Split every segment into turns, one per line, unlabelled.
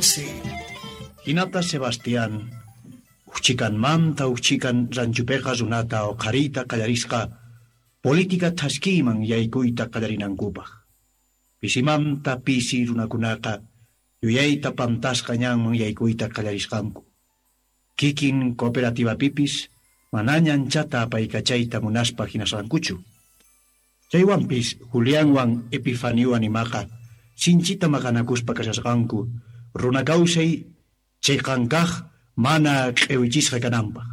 12.
Hinata Sebastián, uchchikanmanta uchchikan ranchupiqa runata uqhariyta qallarisqa política thaskiyman yaykuyta qallarinankupaq. Pisimanta pisi runakunaqa yuyayta pantasqa ñanman yaykuyta qallarisqanku. Kikin cooperativapipis manaña anchata apaykachayta munaspa hinasqankuchu. Chaywanpis Julianwan Epifaniowan imaqa sinchita maqanakuspa kashasqanku runa kawsay chiqan kaq mana q'iwichisqa kananpaq.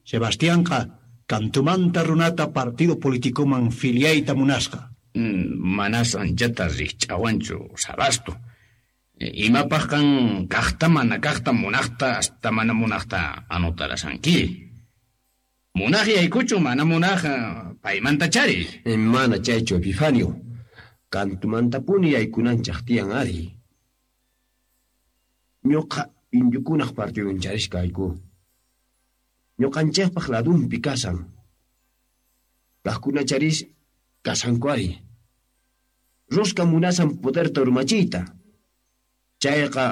Sebastianqa kantumanta runata partido politicoman filiayta munasqa.
Manas anchata rikch'awanchu Sabasto. Imapaq qan kaqta mana kaqta munaqta hasta mana munaqta anotarasanki. Munaq yaykuchu mana munaq paymanta chari.
Mana chaychu Epifanio. Kantumantapuni yaykunanchaq tiyan ari. Ñuqa indiokunaq partidun charishkayku. Ñuqanchikpaq ladunpi kasan. Kaqkuna charis kasanku ari. Rosca munasan poderta urmachiyta. Chayqa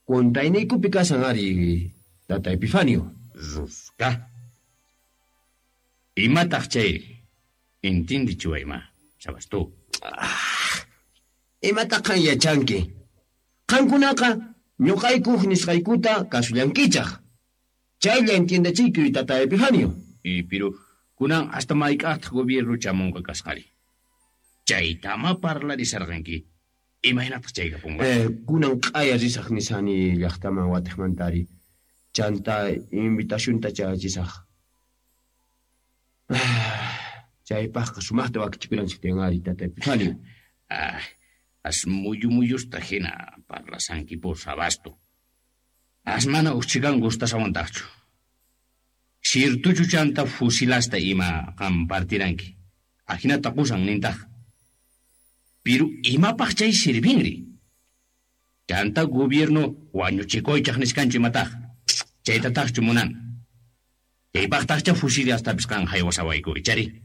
contrayniykupi kasan ari, tata Epifanio.
Rosca. Imataq chayri? Intindichiwayma, Sabasto.
Imataq qan yachanki? Qankunaqa ñuqaykuq nisqaykuta kasullankichaq. Chaylla entiendechiykuy, tata Epifanio.
Pero kunan hasta mayk'aqtaq gobierno chamunqa kasqari. Chaytama parlarisarqanki. Imaynataq chay kapunqa?
Kunan q'aya risaq nisani llaqtaman watiqmantari. Chanta invitacionta chayachisaq. Chaypaqqa sumaqta wakichikunanchik tiyan ari, tata Epifanio.
As muyu muyusta hina parlasanki por Sabasto. As mana uchchikan gustasawantaqchu. Sirtuchu chanta fusilasta ima qam partiranki. Ajinata qusan nintaq. Piru imapaq chay sirvinri. Chanta gobierno wañuchikuychaq niskanchu imataq. Chaytataqchu munan. Chaypaqtaqcha fusilastapis qan haywasawayku, ichari.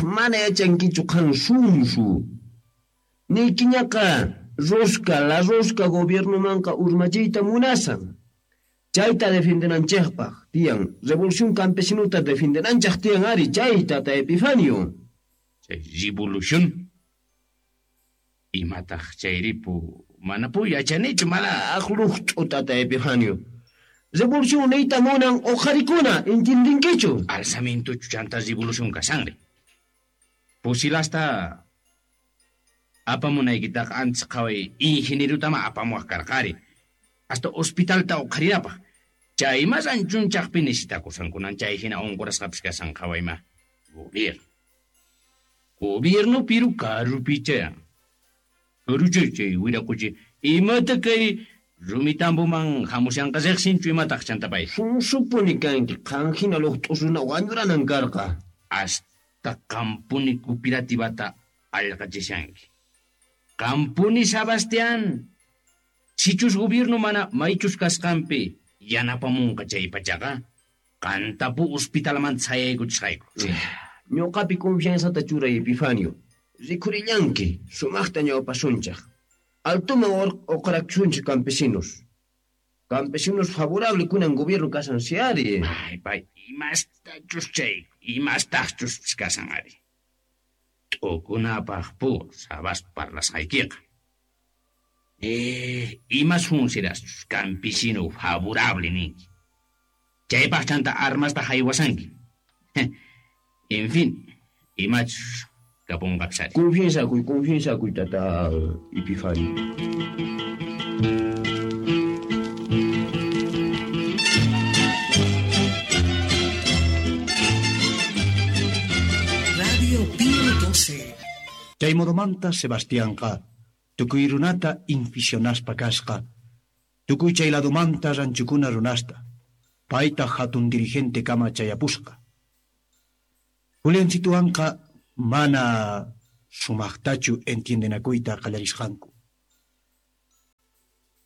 Mana yachankichu qan sunsu. Niykiñaqa rosca, la rosca gobiernomanqa urmachiyta munasan. Chayta defendenanchikpaq tiyan, revolución campesinuta defendenanchik tiyan ari, chayta tata Epifanio.
Chay revolución. Imataq chayripu manapu yachanichu mana.
Luqt'u tata Epifanio. Revolución niyta munan uqharikuna, entendinkichu?
Alzamientochu chanta revolución kasanri. Fusilasta apamunaykitaqa antes qhaway ingenierotama apamuwaq karqari. Hasta hospitalta uqharinapaq. Chay mas anchunchaqpi necesitakusankunan chay hina unqurasqapis kasan qhawayma. Gobierno. Gobierno piru karupicha. Karucha chay wiraquchi imata kay rumitambuman hamushanqa riqsinchu imataq chantapay.
Sunsupuni kanki qan hina luqt'u runa wañuranan karqa.
Hasta qampuni cooperativata allqachishanki. Qampuni Sebastián. Sichus gobierno mana maychus kasqanpi yanapamunqa chay pachaqa qantapu hospitalman chayaykuchisqayku.
Ñuqapi confianzata churay Epifanio. Rikhurillanki sumaqta ñawpasunchaq. Altuman uqharakusunchik campesinos. Campesinos favorable kunan gobierno kasan si ari.
Ay, pay, imastachus chay, imastachus kasan ari. T'ukunapaq pu sabas parlasqaykiqa. Imas funcionaschus campesino favorable ninki. Chaypaq chanta armasta haywasanki. En fin, imachus kapunqapis ari.
Confianzakuy, confianzakuy, tata Epifanio.
Radio Pío 12.
Chay modomanta Sebastianqa tukuy runata inficionaspa kasqa. Tukuy chay ladomanta ranchukuna runasta. Payta hatun dirigente kama chayapusqa. Juliancituanqa mana sumaqtachu entiendenakuyta qallarisqanku.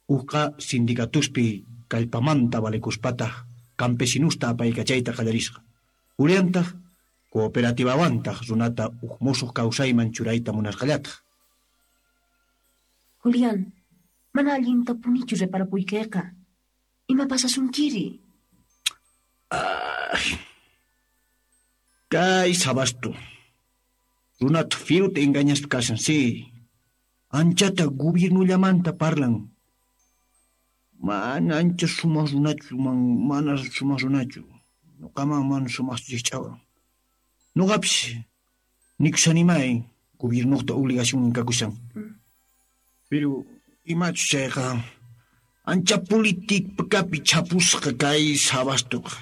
Uqa sindicatuspi kallpamanta valekuspataq campesinusta apaykachayta qallarisqa. Juliantaq cooperativawantaq runata uq musuq kawsayman churayta munasqallataq.
Julián, Mana allintapunichu reparapuykeqa. Ima pasasunkiri?
Ay. Kay Sabasto. Runata firuta engañaspa kashan, sí. Anchata gobiernollamanta parlan. Mana ancha sumaq runachu, mana sumaq runachu. Nuqaman mana sumaqchu rikch'awan. Nuqapis nikushanimay gobiernoqta obligacionnin kakushan. Pero imachus chayqa ancha politikapi chapusqa kay Sabastoqa.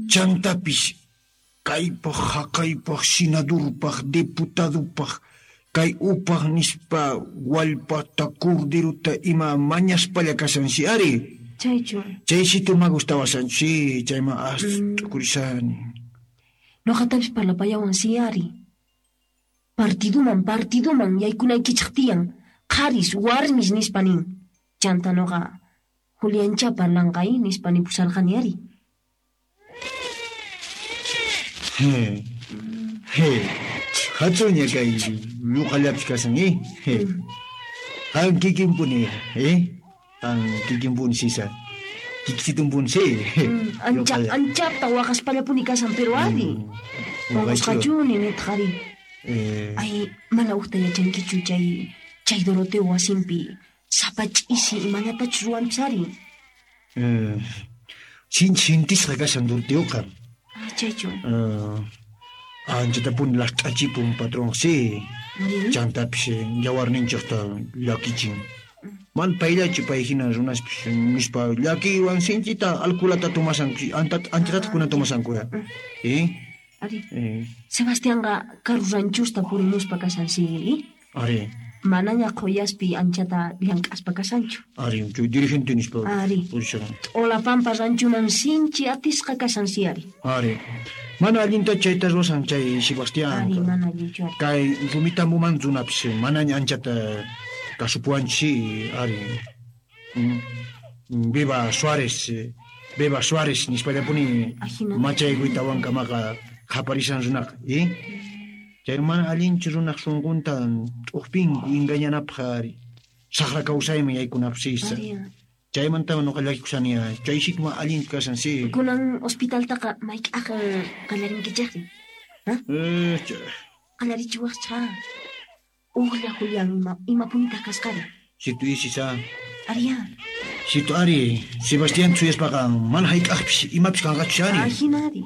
Chantapis kaypaq haqaypaq senadorpaq diputadopaq kay upaq nispa wallpata corderota ima mañaspalla kashansi ari.
Chaychu.
Chaysito ma gustawasanchu, sí, chayman as t'ukurishani.
Nuqatapis parlapayawan si ari. Partiduman yaykunaykichik tiyan. Qharis warmis nispa nin. Chanta nuqa Juliancha parlanqay nispa nipusarqani ari.
He. He. Hatsuña kay ñuqallapis kashan, eh? He. Qan kikinpuni, eh? Qan kikinpuni sisa. Kikisitumpuni, sí.
Anchata waqaspallapuni kashan, pero ari. Waqasqachuni nitaq ari. Ay, mana uqta yachankichu chay Doroteo wasinpi sapa ch'isi imallatachus ruwanpis ari.
Sinchi sintisqa kashan Doroteoqa.
Chaychu.
Anchatapuni last'achipun patrón, sí. Chantapis yawarninchikta llakichin. Man payllachu pay hina runaspis nispa llakiywan sinchita alkulata tomasanku, anchatataq kuna tomasanku. Eh?
Ari. Sebastianqa karu ranchusta purimuspa kashan, sí.
Ari.
Manaña qhuyaspi anchata llank'aspa kashanchu.
Ari, chay dirigente nispa.
Ari. T'olapampa ranchuman sinchi atisqa kashan, sí, ari.
Ari. Mana allinta chayta ruwasan chay Sebastián.
Ari, mana allinchu, ari.
Kay rumitambuman runapis manaña anchata kasupuwanchis, ari. Viva Suárez, viva Suárez nispallapuni machaykuytawankamaqa qhaparisan runaqa, eh? Chay mana allinchu runaq sunqunta t'uqpinku engañanapaq ari. Saqra kawsayman yaykunapaq sisa. Chaymanta nuqa llakikusani, chay sitma allinchu kashan, sí.
Kunan hospitaltaqa mayk'aq qallarinkichikri? Ha? Qallarichiwaqcha. Uqlla Julián imapunitaq kasqari?
Situ isisa.
Ariya.
Situ ari, Sebastián chuyaspaqa mana hayk'aqpis imapis kanqachu ari.
Ahina ari.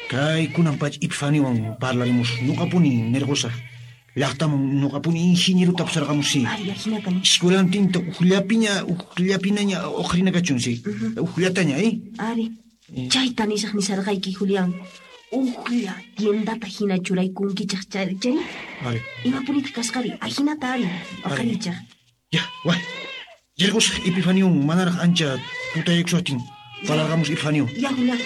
Kay kunan pacha Epifaniwan parlarimus nuqapuni nirqusaq. Llaqtaman nuqapuni ingenieruta pusarqamus, sí.
Ari, ahinata ni.
Escuelantinta uqllapinaña uqrina kachun, sí. Uqllataña, eh?
Ari. Chayta nisaq nisarqayki, Julián. Uqlla tiendata hina churaykunkichaq chay.
Ari.
Imapunitaq kasqari? Ahinata ari. Uqarichaq.
Ya, way. Llegos Epifanion manaraq ancha tutaykushaqtin. Parlarqamus Epifanio.
Ya, Julián.